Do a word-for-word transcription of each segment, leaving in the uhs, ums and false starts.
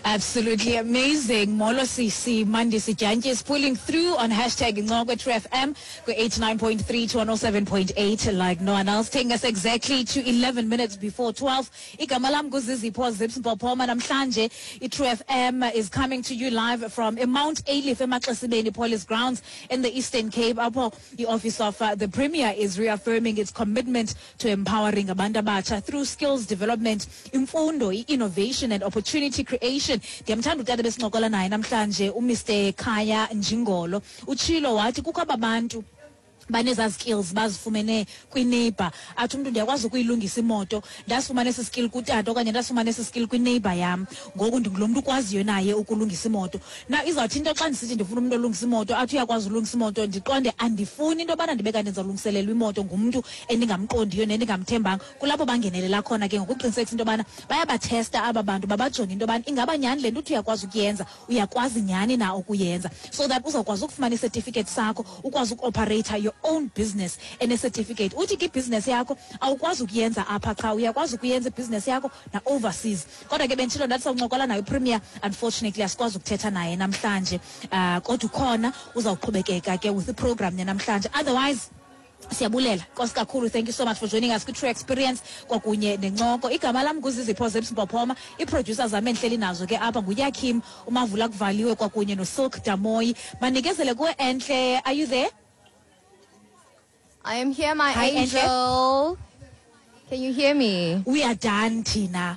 Absolutely amazing. Molo sisi Mandisi Dyantyi is pulling through on hashtag Incoko True F M eighty-nine point three to one oh seven point eight like no one else. Taking us exactly to eleven minutes before twelve. Igama lam nguZizipho Zips Mpopoma. Namhlanje iTrue F M is coming to you live from Mount Ayliff, eMaxesibeni Police Grounds in the Eastern Cape. Apho the Office of uh, the Premier is reaffirming its commitment to empowering abantu abatsha through skills development, imfundo, innovation and opportunity creation. Ndiyamthanda utata besincokola naye namhlanje, uMr Khaya Njingolo. Utshilo wathi kukho ababantu banezaa skills bazifumene kwineighbor. Athi umntu, "Ndiyakwazi ukuyilungisa imoto, ndasifumana esi skill kutata okanye ndasifumana esi skill kwineighbor yam. Ngoku ndingulo mntu ukwaziyo naye ukulungisa imoto." Na izawuthi into xa ndisithi ndifuna umntu olungisa imoto, athi uyakwazi ulungisa imoto, ndiqonde andifuni into yobana ndibe kanti ndizawulungiselelwa imoto ngumntu endingamqondiyo nendingamthembanga. Kulapho bangenelela khona ke ngokuqinisekisa into yobana bayabathesta aba bantu, babajonge into yobana ingaba nyhani le nto uthi uyakwazi ukuyenza, uyakwazi nyhani na ukuyenza, so that uzawukwazi ukufumana icertificate sakho, ukwazi ukuoperate your own business ene-certificate. Uthi ke ibhizinesi yakho awukwazi ukuyenza apha qha, uyakwazi ukuyenza ibhizinesi yakho na-overseas. Kodwa ke benditshilo ndathi sawuncokola nayo uPremier. Unfortunately asikwazi ukuthetha naye namhlanje, uh, kodwa ukhona, uzawuqhubekeka ke with iprogram yanamhlanje. Otherwise siyabulela, nkosi kakhulu. Thank you so much for joining us kwi-True Experience kwakunye nencoko. Igama lam nguZizipho Zips Mpophoma. Ii-producer zam endihleli nazo ke apha nguYakim uMavula Kuvaliwe kwakunye noSilk Damoyi. Manikezele kuwe, Entle. Are you there? I am here, my Hi, angel. Entle. Can you hear me? We are done thina.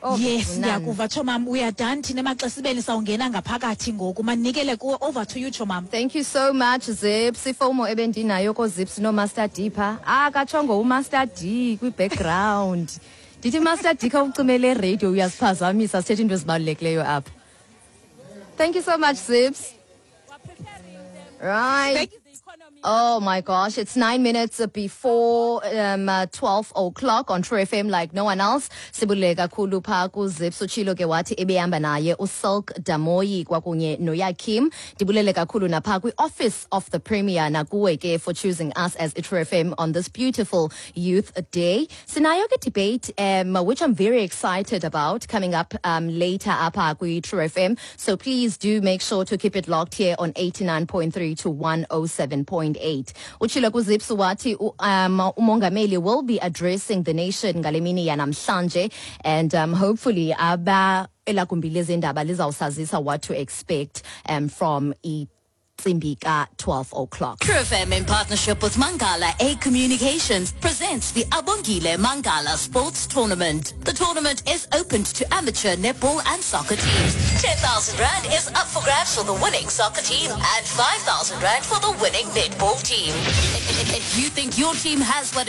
Oh, yes. none. Ndiyakuva, tshomam. We are done thina emaxesibeni, sawungena ngaphakathi ngoku. Manikele kuwe, over to you, tshomam. Thank you so much, Zips. IFOMO ebendinayo koZips noMaster D pha. Ah, katshongo uMaster D kwi-background. Ndithi, Master D, khawucimele radio, uyasiphazamisa sithethe into ezibalulekileyo apha. Thank you so much, Zips. Right. Thank you. Oh my gosh, it's nine minutes before um, uh, twelve o'clock on True F M like no one else. Sibulele kakhulu pha kuZips. Utshilo ke wathi ebehamba naye uSilk Damoyi kwakunye noYakim. Ndibulele kakhulu napha kwi-Office of the Premier nakuwe ke for choosing us as True F M on this beautiful Youth Day. Sinayo ke debate um, which I'm very excited about coming up um, later apha kwi-True F M. So please do make sure to keep it locked here on eighty-nine point three to one oh seven point eight. Utshilo kuZips wathi u- um, umongameli will be addressing the nation ngale mini yanamhlanje and um, hopefully aba elagumbi lezendaba lizawusazisa what to expect um, from intsimbi ka twelve o'clock. True F M in partnership with Mangala A Communications presents the Abongile Mangala Sports Tournament. The tournament is open to amateur netball and soccer teams. ten thousand Rand is up for grabs for the winning soccer team and five thousand Rand for the winning netball team. If you think your team has what it